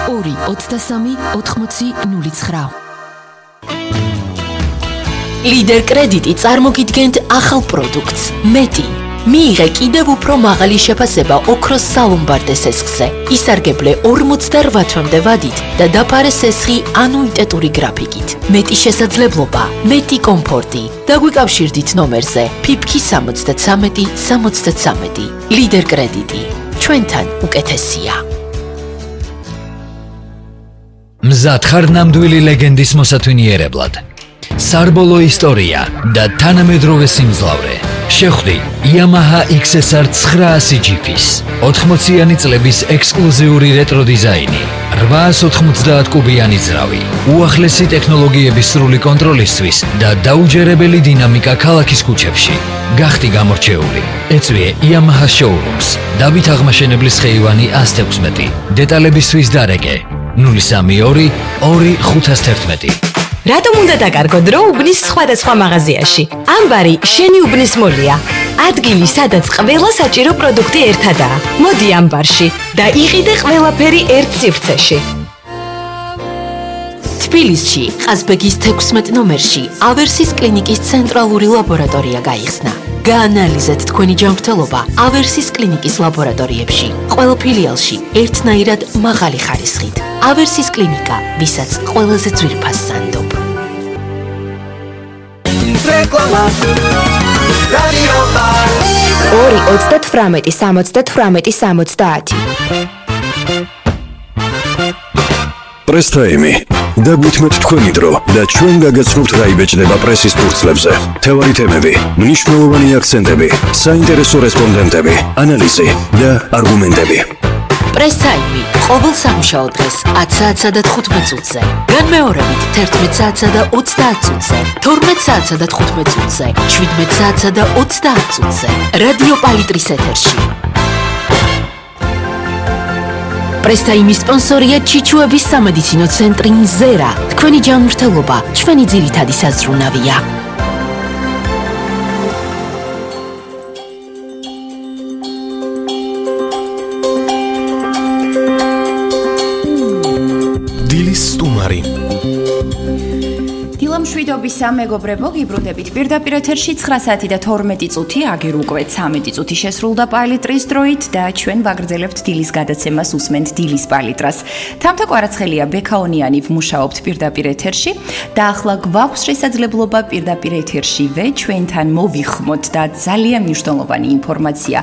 223-80-09. Lider კრედიტი წარმოგიდგენთ ახალ პროდუქტს მეტი. მიიღე კიდევ უფრო მაღალი შეფასება ოქროს სალომბარდე სესხზე. ისარგებლე 48 თვემდე ვადით და დაფარე სესხი ანუიტეტური გრაფიკით. მეტი შესაძლებლობა, მეტი კომფორტი. დაგვიკავშირდით ნომერზე PIPK 73 73. Lider კრედიტი. ჩვენთან უკეთესია. მზად ხარ ნამდვილი ლეგენდის მოსათვინიერებლად. სარბოლო ისტორია და თანამედროვე სიმძლავრე. შეხვდი Yamaha XSR 900 GP-ს 80-იანი წლების ექსკლუზიური რეტრო დიზაინი, 890 კუბიანი ძრავი, უახლესი ტექნოლოგიების სრული კონტროლისთვის და დაუჯერებელი დინამიკა ქალაქის ქუჩებში. გახდი გამორჩეული. ეწვიე Yamaha Showrooms. დავით აღმაშენებლის ხეივანი 116. დეტალებისთვის დარეკე 032 2511. რატომ უნდა დაკარგო დრო უბნის სხვადასხვა მაღაზიაში? ამბარი შენი უბნის მოლია. ადგილი, სადაც ყველა საჭირო პროდუქტი ერთადაა. მოდი ამბარში და იყიდე ყველაფერი ერთ სივრცეში. თბილისში, ყაზბეგის 16 ნომერში, ავერსის კლინიკის ცენტრალური ლაბორატორია გაიხსნა. გაანალიზეთ თქვენი ჯანმრთელობა ავერსის კლინიკის ლაბორატორიებში. ყველა ფილიალში ერთნაირად მაღალი ხარისხით. ავერსის კლინიკა, ვისაც ყველაზე ძვირფას სანდობ. რეკლამა. რადიო 2-38-70-70. პრესტაიმი. დაგვითმეთ თქვენი დრო და ჩვენ გაგაცნობთ რა იბეჭდება პრესის ფურცლებზე. თევარი თემები, მნიშვნელოვანი აქცენტები, საინტერესო რესპონდენტები, ანალიზი და არგუმენტები. პრესტაიმი ყოველ სამუშაო დღეს 10 საათსა და 15 წუთზე. განმეორებით 11 საათსა და 30 წუთზე, 12 საათსა და 15 წუთზე, 17 საათსა და 30 წუთზე. რადიო პალიტრის ეთერში. პრესტაიმის სპონსორია ჩიჩუების სამედიცინო ცენტრი მზერა. თქვენი ჯანმრთელობა ჩვენი ძირითადი საზრუნავია. დილის სტუმარი. დილამშვიდობის მეგობრებო, გიბრუნდებით პირდაპირ ეთერში 9 საათი და 12 წუთი, აგერ უკვე 13 წუთი შესრულდა პალიტრის დროით და ჩვენ ვაგრძელებთ დილის გადაცემას, უსმენთ დილის პალიტრას. თამთა კვარაცხელია, ბექაონიანი ვმუშაობთ პირდაპირ ეთერში და ახლა გვაქვს შესაძლებლობა პირდაპირ ეთერშივე ჩვენთან მოვიხმოთ და ძალიან მნიშვნელოვანი ინფორმაცია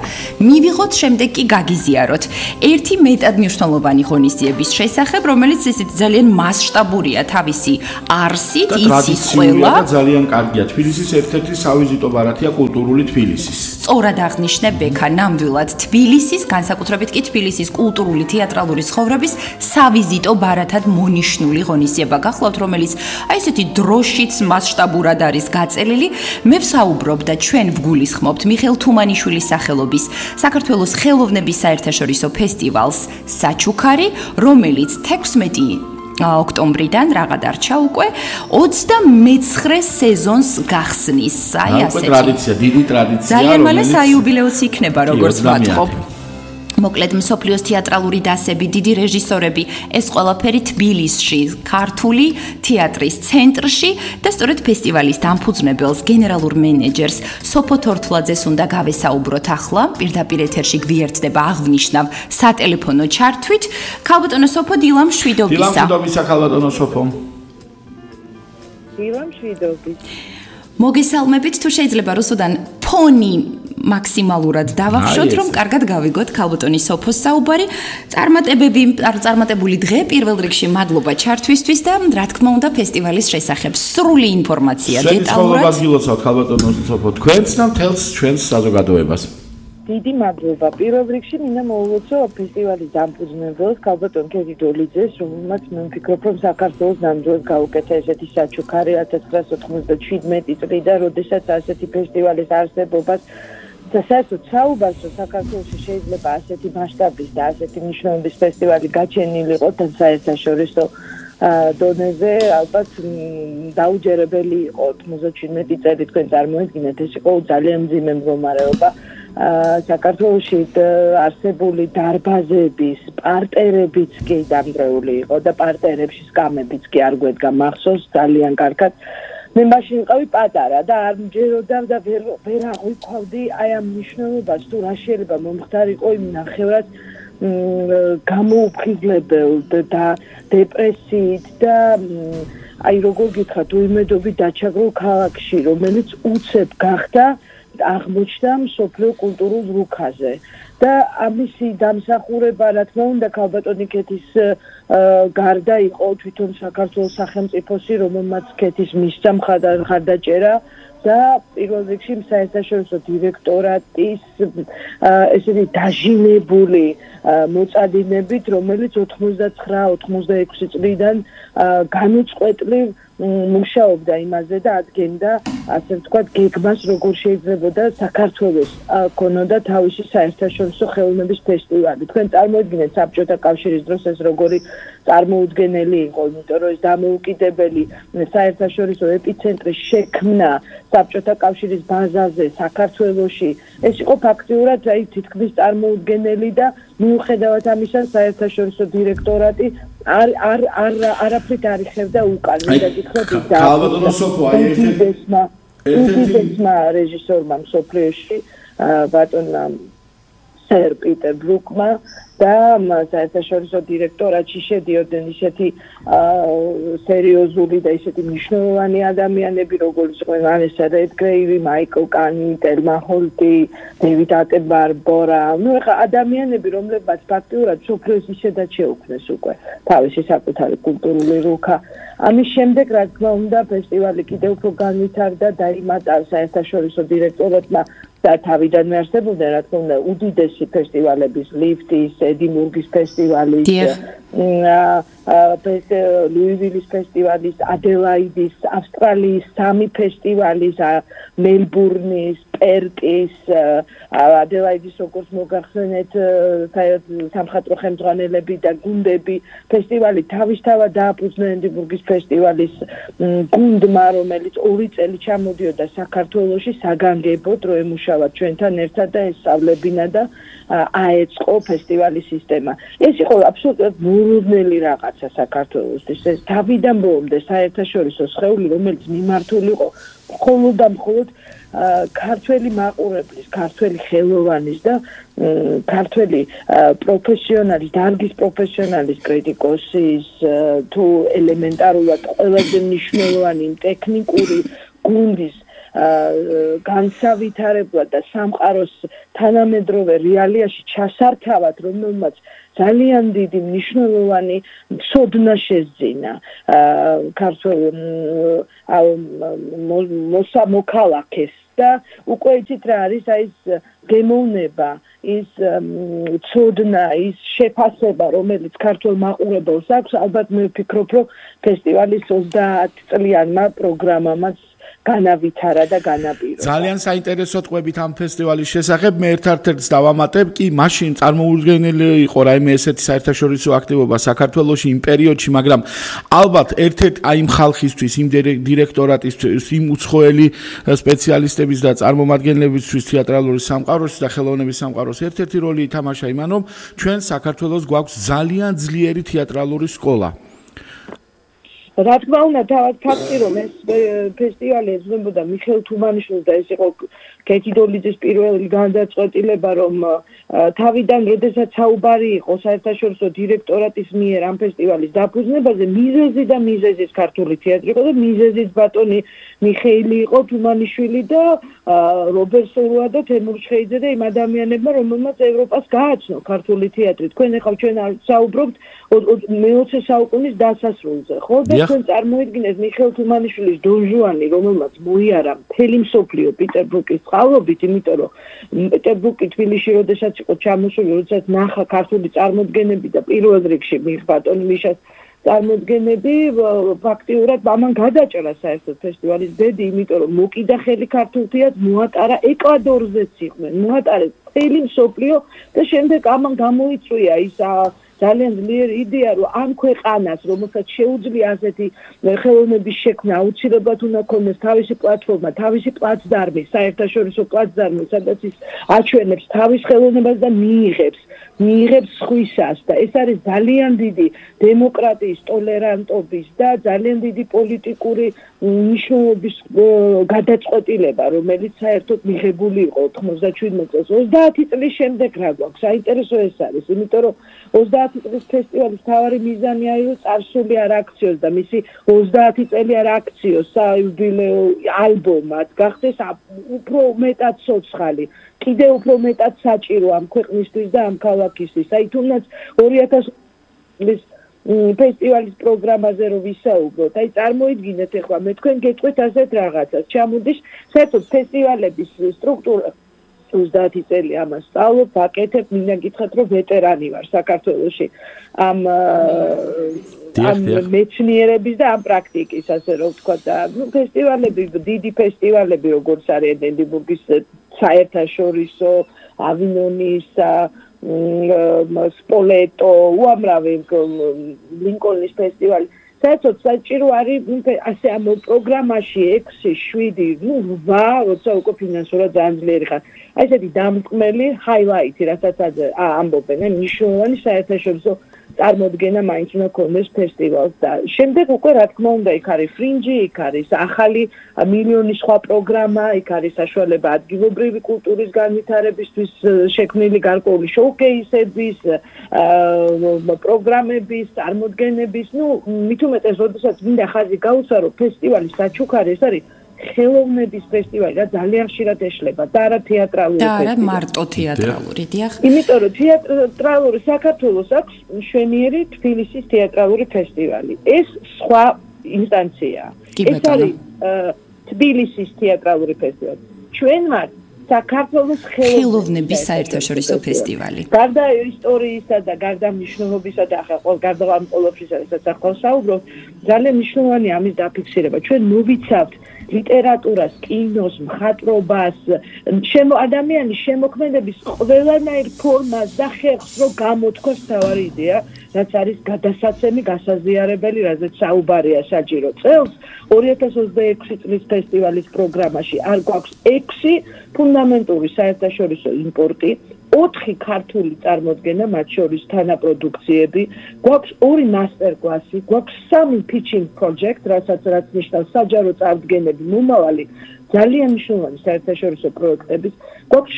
მივიღოთ, შემდეგ კი გაგიზიაროთ. ერთი მეტად მნიშვნელოვანი ღონისძიების შესახებ, რომელიც ისეთ ძალიან მასშტაბურია თავისი არსით, ტრადიციული და ძალიან კარგია. თბილისის ერთ-ერთი სავიზიტო ბარათია კულტურული თბილისის. სწორად აღნიშნე ბექა, ნამდვილად თბილისის, განსაკუთრებით კი თბილისის კულტურული თეატრალური ცხოვრების სავიზიტო ბარათად მონიშნული ღონისძიება გახლავთ, რომელიც აი ესეთი დროშიც მასშტაბურად არის გაწელილი. მე ვსაუბრობ და ჩვენ ვგულისხმობთ მიხეილ თუმანიშვილის სახელობის საქართველოს ხელოვნების საერთაშორისო ფესტივალს საჩუქარი, რომელიც 16 ოქტომბრიდან რაღა დარჩა უკვე 29 სეზონს გახსნის. აი ასეთი ტრადიცია, დიდი ტრადიცია. ძალიან მალე საიუბილეოც იქნება, როგორც ვატყობ. მოკლედ მსოფლიოს თეატრალური დასები, დიდი რეჟისორები, ეს ყველაფერი თბილისში, ქართული თეატრის ცენტრში და სწორედ ფესტივალის დამფუძნებელს, გენერალურ მენეჯერს სოფო თორთლაძეს უნდა გავესაუბროთ ახლა. პირდაპირ ეთერში გვიერთდება აღვნიშნავ სატელეფონო ჩართვით. ქალბატონო სოფო, დილამშვიდობისა. დილამშვიდობისა, ქალბატონო სოფო. დილამშვიდობისა. მოგესალმებით, თუ შეიძლება რუსუდან ფონი მაქსიმალურად დავახშოთ, რომ კარგად გავიგოთ ქალბატონის სოფოს საუბარი. წარმატებული დღე, პირველ რიგში მადლობა ჩართვისთვის და რა თქმა უნდა ფესტივალის შესახებ სრული ინფორმაცია დეტალურად. შეგიძლიათ გილოცავთ ქალბატონო სოფო თქვენს და მთელს ჩვენს საზოგადოებას. დიდი მადლობა. პირველ რიგში მინდა მოვულოცო ფესტივალის დამფუძნებელს, ქალბატონ ქეთი დოლიძეს, რომელმაც მე ვფიქრობ, რომ საქართველოს ნამდვილად გაუკეთა ესეთი საჩუქარი 1997 წლიდან, როდესაც ასეთი ფესტივალის არსებობას და საერთოდ საუბარს, რომ საქართველოში შეიძლება ასეთი მასშტაბის და ასეთი მნიშვნელობის ფესტივალი გაჩენილიყო და საერთაშორისო დონეზე, ალბათ დაუჯერებელი იყო 97 წელი თქვენ წარმოედგინეთ, ეს იყო ძალიან მძიმე მდგომარეობა. საქართველოში არსებული დარბაზების პარტერებიც კი დამგრეული იყო და პარტერებში სკამებიც კი არ გვედგა მახსოვს ძალიან კარგად. მე მაშინ ვიყავი პატარა და არ მჯეროდა და ვერ აღვიქვავდი აი ამ მნიშვნელობას თუ რა შეიძლება მომხდარიყო იმ ნახევრად გამოუფხიზლებელ და დეპრესიით და აი როგორ გითხრათ უიმედობით დაჩაგრულ ქალაქში რომელიც უცებ გახდა აღმოჩნდა მსოფლიო კულტურულ რუქაზე და ამისი დამსახურება რა თქმა უნდა ქალბატონი ქეთის გარდა იყო თვითონ საქართველოს სახელმწიფოსი რომელმაც ქეთის მისცა მხარდაჭერა და პირველ რიგში საერთაშორისო დირექტორატის ესეთი დაჟინებული მოწადინებით რომელიც 99-96 წლიდან განუწყვეტლივ მუშაობდა იმაზე და ადგენდა ასე ვთქვათ გეგმას როგორ შეიძლებოდა საქართველოს ქონოდა თავისი საერთაშორისო ხელოვნების ფესტივალი. თქვენ წარმოიდგინეთ საბჭოთა კავშირის დროს ეს როგორი წარმოუდგენელი იყო, იმიტომ რომ ეს დამოუკიდებელი საერთაშორისო ეპიცენტრი შექმნა საბჭოთა კავშირის ბაზაზე საქართველოში. ეს იყო ფაქტიურად აი თითქმის წარმოუდგენელი და მიუხედავად ამისა საერთაშორისო დირექტორატი არაფრით არ იხევდა უკან. მინდა გითხრათ ის ქალბატონო სოფო აი ერთ-ერთმა რეჟისორმა მსოფლიოში ბატონმა სერ პიტერ ბრუკმა და საერთაშორისო დირექტორატში შედიოდნენ ისეთი სერიოზული და ისეთი მნიშვნელოვანი ადამიანები როგორც იყვნენ ვანესა რედგრეივი, მაიკლ კანი, ტელმა ჰოლტი, დევიდ ატენბორა, ну ეხა ადამიანები რომლებმაც ფაქტიურად სოფლიოს ისედაც შეუქმნეს უკვე თავისი საკუთარი კულტურული რუქა. ამის შემდეგ რა თქმა უნდა ფესტივალი კიდევ უფრო განვითარდა და იმატა საერთაშორისო დირექტორატმა და თავიდანვე არსებობდა რა თქმა უნდა უდიდესი ფესტივალების ლიფტის, ედინბურგის ფესტივალის, ლუივილის ფესტივალის, ადელაიდის, ავსტრალიის 3 ფესტივალის, მელბურნის, პერკის, ადელაიდის როგორც მოგახსენეთ სამხატვრო ხელმძღვანელები და გუნდები ფესტივალი თავისთავად დააფუძნა ედინბურგის ფესტივალის გუნდმა რომელიც 2 წელი ჩამოდიოდა საქართველოში საგანგებოდ რომ ემუშავა ჩვენთან ერთად და ესწავლებინა და აეწყო ფესტივალის სისტემა. ეს იყო აბსოლუტურად მოულოდნელი რაღაცა საქართველოსთვის. ეს თავიდან ბოლომდე საერთაშორისო სხეული რომელიც მიმართული იყო მხოლოდ და მხოლოდ ქართველი მაყურებლის, ქართველი ხელოვანის და ქართველი პროფესიონალის, დარგის პროფესიონალის კრიტიკოსის თუ ელემენტარულად ყველაზე მნიშვნელოვანი ტექნიკური გუნდის განსავითარებლად და სამყაროს თანამედროვე რეალიაში ჩასართავად, რომელმაც ძალიან დიდი მნიშვნელოვანი ცოდნა შეძინა ქართულ მოსამოქალაქეს და უკვე იცით რა არის აი ეს გემოვნება, ის ცოდნა, ის შეფასება, რომელიც ქართულ მაყურებელს აქვს, ალბათ მე ვფიქრობ, რომ ფესტივალის 30 წლიანმა პროგრამამაც განავითარა და განაპირობა. ძალიან საინტერესო ტყვებით ამ ფესტივალის შესახებ მე ერთ-ერთს დავამატებ კი მაშინ წარმოუდგენელი იყო რაიმე ესეთი საერთაშორისო აქტივობა საქართველოში იმ პერიოდში, მაგრამ ალბათ ერთ-ერთ აი იმ ხალხისთვის, იმ დირექტორატისთვის, იმ უცხოელი სპეციალისტების და წარმომადგენლებისთვის თეატრალური სამყაროს და ხელოვნების სამყაროს ერთ-ერთი როლი ითამაშა იმან, რომ ჩვენ საქართველოს გვაქვს ძალიან ძლიერი თეატრალური სკოლა. რა თქმა უნდა, თავად ფაქტი რომ ეს ფესტივალი ეძღვნებოდა მიხეილ თუმანიშვილს და ეს იყო კეთი დოლიძის პირველი განდაწყვეტილება, რომ თავიდან, როდესაც საუბარი იყო საერთაშორისო დირექტორატის მიერ ამ ფესტივალის დაფუძნებაზე, მიზეზის ქართული თეატრი იყო და მიზეზის ბატონი მიხეილი იყო თუმანიშვილი და რობერტ სურვა და თემურ ჩხეიძე და იმ ადამიანებმა, რომელმაც ევროპას გააცნო ქართული თეატრი. თქვენ ახლა ჩვენ საუბრობთ მე-20 საუკუნის დასასრულზე, ხო? და თქვენ წარმოიდგინეთ მიხეილ თუმანიშვილის დონ ჟუანი, რომელმაც მოიარა მთელი მსოფლიო პეტერბურგის წყალობით, იმიტომ რომ პეტერბურგი თბილისში როდესაც იყო ჩამოსული, როდესაც ნახა ქართული წარმოდგენები და პირველ რიგში ბატონ მიშას წარმოდგენები, ფაქტიურად ამან გადაჭრა საერთოდ ფესტივალის ბედი, იმიტომ რომ მოკიდა ხელი ქართულ თეატრს, მოატარა ეკვადორზეც იყვნენ, მოატარეს მთელი მსოფლიო და შემდეგ ამან გამოიწვია ის ძალიან ძლიერი იდეა, რომ ამ ქვეყანას, რომელსაც შეუძლია ასეთი ხელოვნების შექმნა, აუცილებლად უნდა ქონდეს თავისი პლატფორმა, თავისი პლაცდარმი, საერთაშორისო პლაცდარმი, სადაც ის აჩვენებს თავის ხელოვნებას და მიიღებს სხვისას და ეს არის ძალიან დიდი დემოკრატიის, ტოლერანტობის და ძალიან დიდი პოლიტიკური მნიშვნელობის გადაწყვეტილება, რომელიც საერთოდ მიღებული იყო 97 წელს. 30 წლის შემდეგ რა გვაქვს? საინტერესო ეს არის, იმიტომ რომ 30 წლის ფესტივალის მთავარი მიზანი არის, რომ წარსული არ აქციოს და მისი 30 წელი არ აქციოს საიუბილეო ალბომად, გახდეს უფრო მეტად ცოცხალი. კიდევ უფრო მეტად საჭირო ამ ქვეყნისთვის და ამ ქალაქისთვის. აი თუნდაც 2000 წლის ფესტივალის პროგრამაზე რომ ვისაუბროთ, აი წარმოიდგინეთ ახლა მე თქვენ გეტყვით ასეთ რაღაცას. ჩამოდის საერთოდ ფესტივალების სტრუქტურა 30 წელი ამას სწავლობ, ვაკეთებ, მინდა გითხრათ რომ ვეტერანი ვარ საქართველოში ამ მეცნიერების და ამ პრაქტიკის, ასე რომ ვთქვა და ფესტივალები, დიდი ფესტივალები როგორც არის ედინბურგის საერთაშორისო, ავინონის, სპოლეტო, უამრავი ლინკოლნის ფესტივალი. საერთოდ საჭირო არის ასე ამ პროგრამაში 6, 7, 8, როცა უკვე ფინანსურად ძალიან ძლიერი ხარ. აი ესეთი დამტკმელი ჰაილაიტი, რასაც ამბობენ, მნიშვნელოვანი საერთაშორისო წარმოდგენა მაინც უნდა ქონდეს ფესტივალს და შემდეგ უკვე რა თქმა უნდა იქ არის ფრინჯი, იქ არის ახალი მილიონი სხვა პროგრამა, იქ არის საშუალება ადგილობრივი კულტურის განვითარებისთვის შექმნილი გარკვეული შოუკეისების, პროგრამების, წარმოდგენების, მით უმეტეს, როდესაც მინდა ხაზი გაუსვარო ფესტივალის საჩუქარი, ეს არის ხელოვნების ფესტივალი და ძალიან ხშირად ეშლება და არა თეატრალური ფესტივალი. და არა მარტო თეატრალური, დიახ. იმიტომ რომ თეატრალური საქართველოს აქვს მშვენიერი თბილისის თეატრალური ფესტივალი. ეს სხვა ინსტანციაა. ეს არის თბილისის თეატრალური ფესტივალი. ჩვენ ვართ საქართველოს ხელოვნების საერთაშორისო ფესტივალი. გარდა ისტორიისა და გარდა მნიშვნელობისა და ახლა გარდა ამ ყოველფრისა, რასაც ახლა საუბრობ, ძალიან მნიშვნელოვანია ამის დაფიქსირება. ჩვენ მოვიცავთ ლიტერატურას, კინოს, მხატვრობას, ადამიანის შემოქმედების ყველანაირ ფორმას და ხერხს რომ გამოთქვას თავარი იდეა, რაც არის გადასაცემი, გასაზიარებელი, რაზეც საუბარია საჭირო. წელს 2026 წლის ფესტივალის პროგრამაში არ გვაქვს 6 ფუნდამენტური საერთაშორისო იმპორტი, 4 ქართული წარმოდგენა, მათ შორის თანაპროდუქციები, გვაქვს 2 მასტერკლასი, გვაქვს 3 pitching project, რაც ნიშნავს საჯარო წარდგენები, მომავალი ძალიან მნიშვნელოვანი საერთაშორისო პროექტების, გვაქვს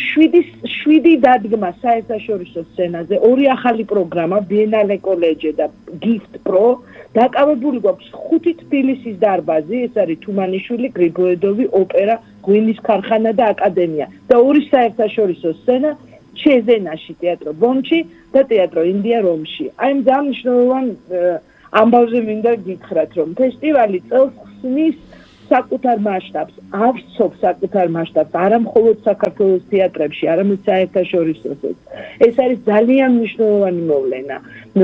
7 დადგმა საერთაშორისო სცენაზე, 2 ახალი პროგრამა, Biennale College და Gift Pro, დაკავებული გვაქვს 5 თბილისის დარბაზი, ეს არის თუმანიშვილი, გრიგოედოვი, ოპერა, ღვინის ქარხანა და აკადემია და 2 საერთაშორისო სცენა ჩეზენაში, თეატრო ბონჩი და თეატრო ინდია რომში. აი ძალიან მნიშვნელოვან ამბავზე მინდა გითხრათ, რომ ფესტივალი წელს ხსნის საკუთარ მასშტაბს, ავსწობს საკუთარ მასშტაბს, არა მხოლოდ საქართველოს თეატრებში, არამედ საერთაშორისოსაც. ეს არის ძალიან მნიშვნელოვანი მოვლენა,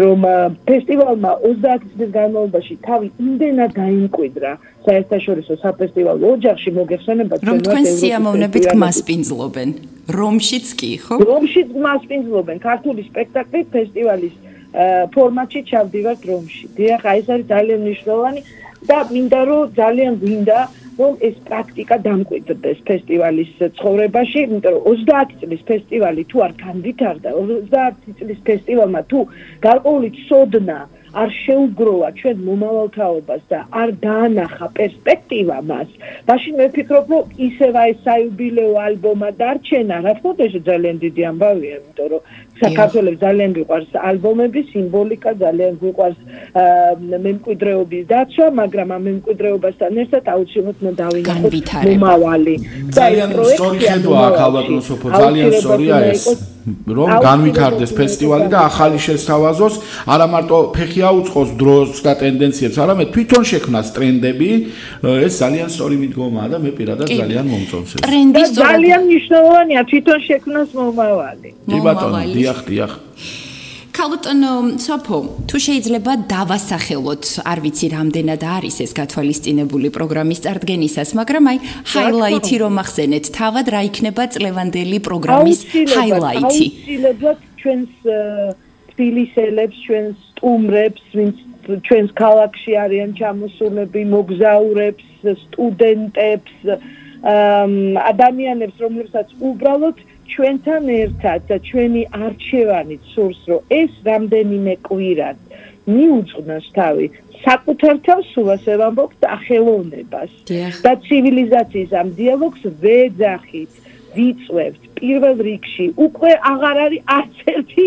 რომ ფესტივალმა 30 წლის განმავლობაში თავი იმდენად დაიმკვიდრა საერთაშორისო საფესტივალო ოჯახში, მოგეხსენებათ, რომ თქვენ სიამოვნებით გმასპინძლობენ. რომშიც კი, ხო? რომშიც გმასპინძლობენ ქართული სპექტაკლი ფესტივალის ფორმატში ჩავდივართ რომში. დიახ, ეს არის ძალიან მნიშვნელოვანი და მინდა რომ ძალიან გვინდა რომ ეს პრაქტიკა დამკვიდრდეს ფესტივალის ცხოვრებაში, იმიტომ რომ 30 წლის ფესტივალი თუ არ განვითარდა, 30 წლის ფესტივალმა თუ გარკვეული ცოდნა არ შეუგროვა ჩვენ მომავალ თაობას და არ დაანახა პერსპექტივა მას, მაშინ მე ვფიქრობ, რომ ისევ ეს საიუბილეო ალბომა დარჩენა, რა თქმა უნდა, ძალიან დიდი ამბავია, იმიტომ რომ საქართველოს ძალიან გვიყვარს ალბომები, სიმბოლიკა, ძალიან გვიყვარს მემკვიდრეობის დაცვა, მაგრამ ამ მემკვიდრეობასთან ერთად აუცილებლად უნდა დავინახოთ მომავალი. ძალიან სწორი ხედვა აქ ალბათ მოსოფო, ძალიან სწორია ეს. რომ განვითარდეს ფესტივალი და ახალი შესთავაზოს, არა მარტო ფეხი აუწყოს დროს და ტენდენციებს, არამედ თვითონ შექმნას ტრენდები, ეს ძალიან სწორი მიდგომაა და მე პირადად ძალიან მომწონს ეს. ტრენდის ძალიან მნიშვნელოვანია თვითონ შექმნას მომავალი. კი ბატონო, დიახ. ქალბატონო სოფო, თუ შეიძლება დავასახელოთ, არ ვიცი რამდენად არის ეს გათვალისწინებული პროგრამის წარდგენისას, მაგრამ აი ჰაილაითი რომ ახსენეთ, თავად რა იქნება წლევანდელი პროგრამის ჰაილაითი? აუცილებლად ჩვენს თბილისელებს, ჩვენ სტუმრებს, ვინც ჩვენს ქალაქში არიან ჩამოსულები, მოგზაურებს, სტუდენტებს, ადამიანებს, რომლებსაც უბრალოდ ჩვენთან ერთად და ჩვენი არჩევანით სურს, რომ ეს რამდენიმე კვირად მიუძღვნოს თავი საკუთარ თავს სულას ვამბობთ ახელოვნებას და ცივილიზაციის ამ დიალოგს ვეძახით, ვიწვევთ პირველ რიგში. უკვე აღარ არის არც ერთი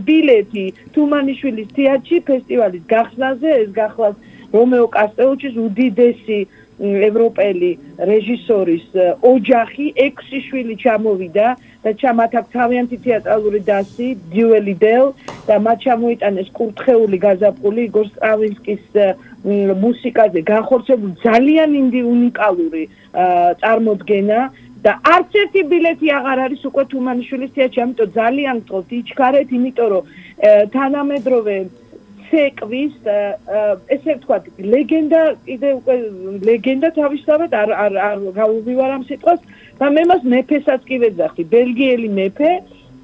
ბილეთი თუმანიშვილის თეატრში ფესტივალის გახსნაზე, ეს გახლავს რომეო კასტელუჩის უდიდესი ევროპელი რეჟისორის ოჯახი 6 შვილი ჩამოვიდა და მათ აქვს თავიანთი თეატრალური დასი დიუელი დელ და მათ ჩამოიტანეს კურთხეული გაზაფხული იგორ სტრავინსკის მუსიკაზე განხორციელებული ძალიან უნიკალური წარმოდგენა და არც ერთი ბილეთი აღარ არის უკვე თუმანიშვილის თეატრში, ამიტომ ძალიან გთხოვთ იჩქარეთ, იმიტომ რომ თანამედროვე ცეკვის ესე ვთქვათ, ლეგენდა კიდე უკვე ლეგენდა თავისთავად არ გავუვივარ ამ სიტყვას და მე მას მეფესაც კი ვეძახი, ბელგიელი მეფე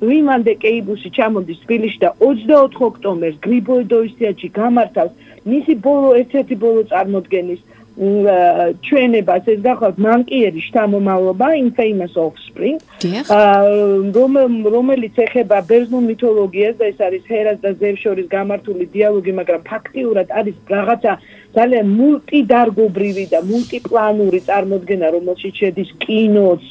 ვიმან დე კეიბუსი ჩამოდის თბილისში და 24 ოქტომბერს გრიბოედოვის თეატრში გამართავს მისი ერთ-ერთი ბოლო წარმოდგენის ჩვენებას, ეს გახლავთ მანკიერის შთამომავლობა Infamous Offspring, რომელიც ეხება ბერძნულ მითოლოგიას და ეს არის ჰერას და ზევსის შორის გამართული დიალოგი, მაგრამ ფაქტიურად არის რაღაცა ძალიან მულტიდარგობრივი და მულტიპლანური წარმოდგენა, რომელშიც შედის კინოც,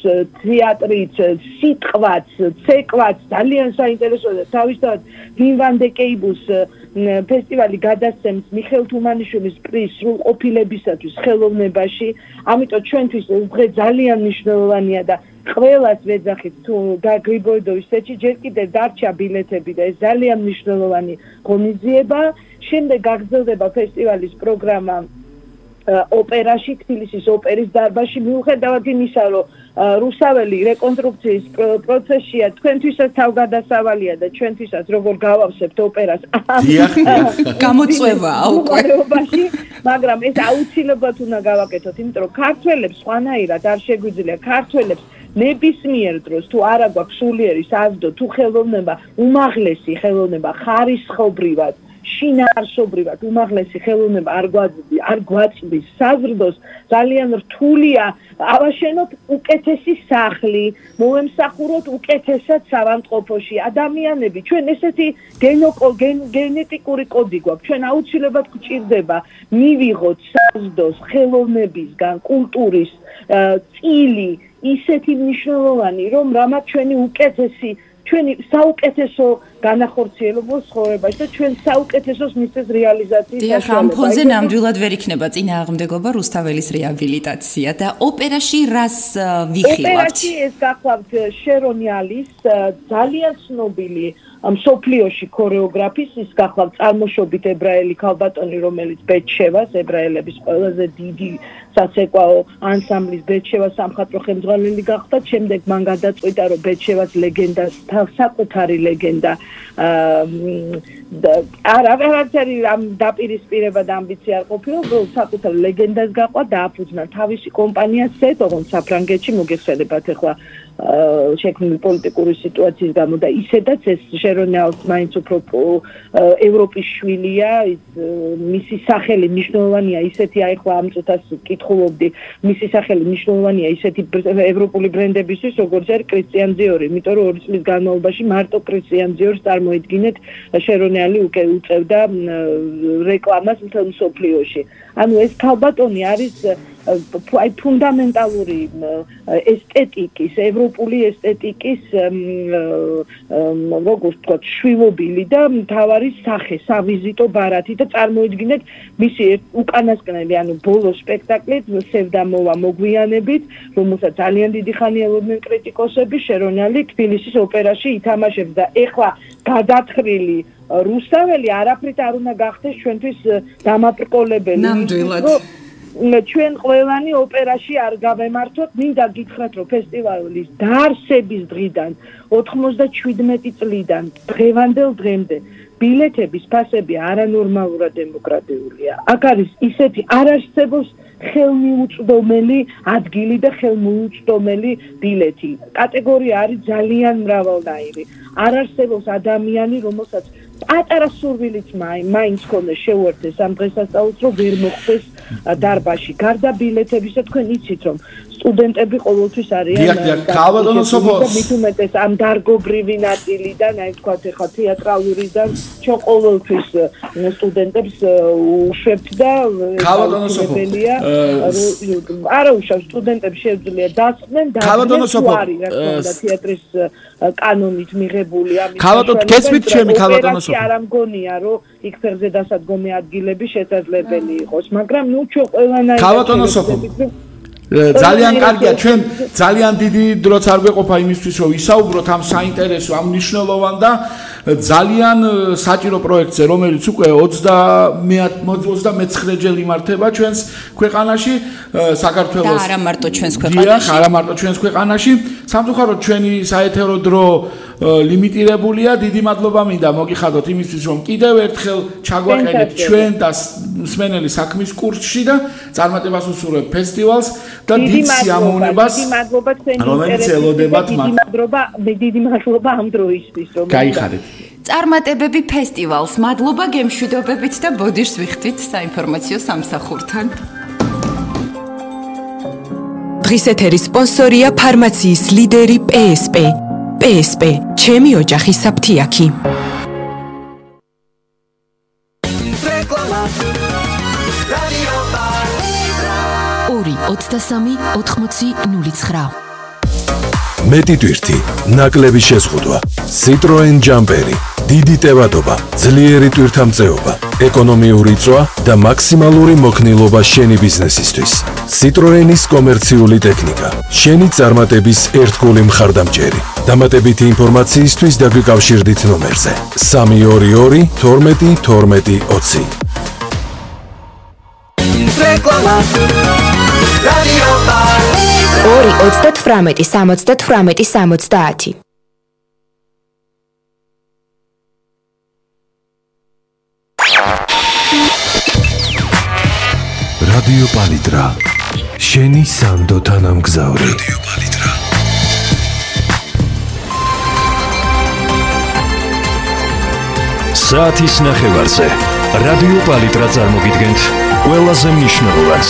თეატრიც, სიტყვაც, ცეკვაც, ძალიან საინტერესოა და თავისთავად ვიმ ვან დე კეიბუს ფესტივალი გადასცემს მიხეილ თუმანიშვილის პრიზს სრულყოფილებისათვის ხელოვნებაში, ამიტომ ჩვენთვის ეს დღე ძალიან მნიშვნელოვანია და ყველას ვეძახით თუ გრიბოედოვის თეატრში ჯერ კიდევ დარჩა ბილეთები და ეს ძალიან მნიშვნელოვანი ღონისძიება. შემდეგ გაგრძელდება ფესტივალის პროგრამა ოპერაში, თბილისის ოპერის დარბაზში, მიუხედავად იმისა, რომ რუსაველი რეკონსტრუქციის პროცესია, თქვენთვისაც თავგადასავალია და ჩვენთვისაც როგორ გავავსებთ ოპერას გამოწვევაა უკვე. მაგრამ ეს აუცილებლად უნდა გავაკეთოთ, იმიტომ რომ ქართველებს სხვანაირად არ შეგვიძლია, ქართველებს ნებისმიერ დროს თუ არა გვაქვს სულიერი საზრდო, თუ ხელოვნება, უმაღლესი ხელოვნება ხარისხობრივად შინაარსობრივად უმაღლესი ხელოვნება არ გვაწვდის საზრდოს, ძალიან რთულია ავაშენოთ უკეთესი სახლი, მოემსახუროთ უკეთესად ავადმყოფოში. ადამიანები, ჩვენ ესეთი გენეტიკური კოდი გვაქვს, ჩვენ აუცილებლად გვჭირდება მივიღოთ საზრდოს ხელოვნებისგან, კულტურის წილი ისეთი მნიშვნელოვანი, რომ რამაც ჩვენი უკეთესი ჩვენი საუკეთესო განახორციელებო ცხოვრებაში და ჩვენ საუკეთესოს მისცეს რეალიზაციის დიახ, ამ ფონზე ნამდვილად ვერ იქნება წინააღმდეგობა რუსთაველის რეაბილიტაცია და ოპერაში რას ვიხილავთ? ოპერაში ეს გახლავთ შერონიალის ძალიან ცნობილი მსოფლიოში ქორეოგრაფის, ის გახლავთ წარმოშობით ებრაელი ქალბატონი, რომელიც ბეჩევას, ებრაელების ყველაზე დიდი საცეკვაო ანსამბლის ბეჩევას სამხატვრო ხელმძღვანელი გახდა, შემდეგ მან გადაწყვიტა, რომ ბეჩევას ლეგენდას საკუთარი ლეგენდა არაფერი ამ დაპირისპირება და ამბიცია არ ყოფილა, რომ საკუთარ ლეგენდას გაყვა და აფუძნა თავისი კომპანია SET, ოღონდ საფრანგეთში მოგეხსენებათ ახლა შექმნილი პოლიტიკური სიტუაციის გამო და ისედაც ეს შერონიალს მაინც უფრო ევროპის შვილია, მისი სახელი მნიშვნელოვანია ისეთი, აი ახლა ამ წუთას კითხულობდი, მისი სახელი მნიშვნელოვანია ისეთი ევროპული ბრენდებისთვის, როგორც არის კრისტიან დიორი, იმიტომ რომ 2 წლის განმავლობაში მარტო კრისტიან დიორს წარმოიდგინეთ შერონიალი უწევდა რეკლამას მთელ მსოფლიოში. ანუ ეს ქალბატონი არის აი ფუნდამენტალური ესთეტიკის, ევროპული ესთეტიკის როგორც ვთქვათ, შვილობილი და მთავარი სახე, სავიზიტო ბარათი და წარმოიდგინეთ მისი უკანასკნელი, ანუ ბოლო სპექტაკლით სევდამოვა მოგვიანებით, რომელსაც ძალიან დიდი ხანი ელოდნენ კრიტიკოსები, შერონიალი თბილისის ოპერაში ითამაშებს და ეხლა გადათხრილი რუსაველი არაფრით არ უნდა გახდეს ჩვენთვის დამაბრკოლებელი. ნამდვილად. ჩვენ ყველანი ოპერაში არ გავემართოთ, მინდა გითხრათ, რომ ფესტივალის დაარსების დღიდან 97 წლიდან დღევანდელ დღემდე ბილეთების ფასები არანორმალურად დემოკრატიულია. აქ არის ისეთი არარსებობს ხელმიუწვდომელი ადგილი და ხელმიუწვდომელი ბილეთი. კატეგორია არის ძალიან მრავალნაირი. არ არსებობს ადამიანი, რომელსაც პატარა სურვილით მაინც ქონდა შეუერთდეს ამ დღესასწაულს, რომ ვერ მოხდეს დარბაზში. გარდა ბილეთებისა თქვენ იცით, რომ სტუდენტები ყოველთვის არიან მით უმეტეს ამ დარგობრივი ნაწილიდან, აი თქვათ ეხლა თეატრალურიდან, ჩვენ ყოველთვის სტუდენტებს უშვებთ და ქალბატონოსოფელია არა უშავს სტუდენტებს შეუძლია დასწნენ და არის რა თქმა თეატრის კანონით მიღებული ამის ქალბატონ გესმით ჩემი ქალბატონოსოფელი არ ამგონია რომ იქ ფერზე დასადგომი ადგილები შესაძლებელი იყოს მაგრამ ნუ ჩვენ ყველანაირად ქალბატონოსოფელი ძალიან კარგია ჩვენ ძალიან დიდი დროც არ გვეყოფა იმისთვის რომ ვისაუბროთ ამ საინტერესო ამ მნიშვნელოვან და ძალიან საჭირო პროექტზე რომელიც უკვე 39 ჯერ იმართება ჩვენს ქვეყანაში საქართველოს და არა მარტო ჩვენს ქვეყანაში არა მარტო ჩვენს ქვეყანაში სამწუხაროდ ჩვენი საეთერო დრო ლიმიტირებულია დიდი მადლობა მინდა მოგიხადოთ იმისთვის რომ კიდევ ერთხელ ჩაგვაყენეთ ჩვენ და მსმენელი საქმის კურსში და წარმატებას უსურვებთ ფესტივალს და დიდ სიამოვნებას დიდი მადლობა თქვენი რომელიც ელოდებათ დიდი მადლობა ამ დროისთვის რომ გაიხადეთ წარმატებები ფესტივალს მადლობა გემშვიდობებით და ბოდიშს ვიხდით საინფორმაციო სამსახურთან დღის ეთერის სპონსორია ფარმაციის ლიდერი PSP PSP ჩემი ოჯახი საფთიაქი 2-23-80-09 მეტი ტვირთი, ნაკლები შეზღუდვა, Citroen Jumperi, დიდი ტევადობა, ძლიერი ტვირთამწეობა, ეკონომიური წვა და მაქსიმალური მოქნილობა შენი ბიზნესისთვის. Citroenis კომერციული ტექნიკა, შენი წარმატების ერთგული მხარდამჭერი. დამატებითი ინფორმაციისთვის დაგვიკავშირდით ნომერზე 322 12 12 20. რეკლამა რადიო პალიტრა 2-18-78-70 რადიო პალიტრა შენი სანდო თანამგზავრი რადიო პალიტრა საათის ნახევარზე რადიო პალიტრა წარმოგიდგენთ ყველაზე მნიშვნელოვანს